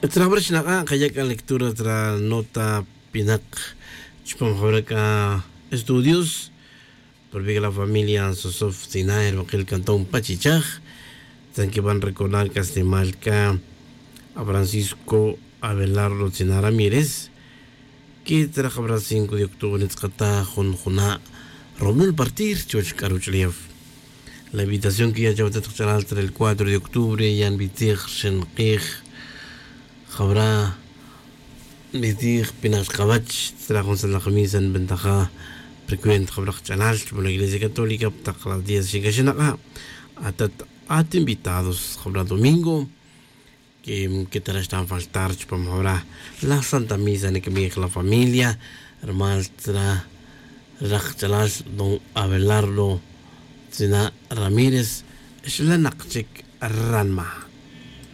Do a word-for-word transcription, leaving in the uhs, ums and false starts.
Tzra jabra xnak'a' kaya' k'a lectura tzra nota pinak chupam jabra k'a estudios por vik la familia sosof tzina erbakil cantón pachichaj. Tzan kiban recordar k'a snimal k'a a francisco abelardo tzina ramírez. Ke tzra jabra cinco de octubre nitz'kata jun juna' romlul partir chuwech k'a ruch'ulef. La invitación kiya' chawatet kach'alal tzra el cuatro de octubre yan bitzij rxin q'ij. Jabra' nbitij pinak chkawech tzra jun santla' kamisa nbentaja' precuenta jabra' kach'alal chupan la iglesia católica pa taq la diez xinkaxinak'a'. Atat at invitados jabra' domingo. Ketarax tan faltar chupan jabra' la santa misa nikbij la familia. Rumal tzra rak kach'alal don abelardo tzina' ramírez xlanak chik ranma'.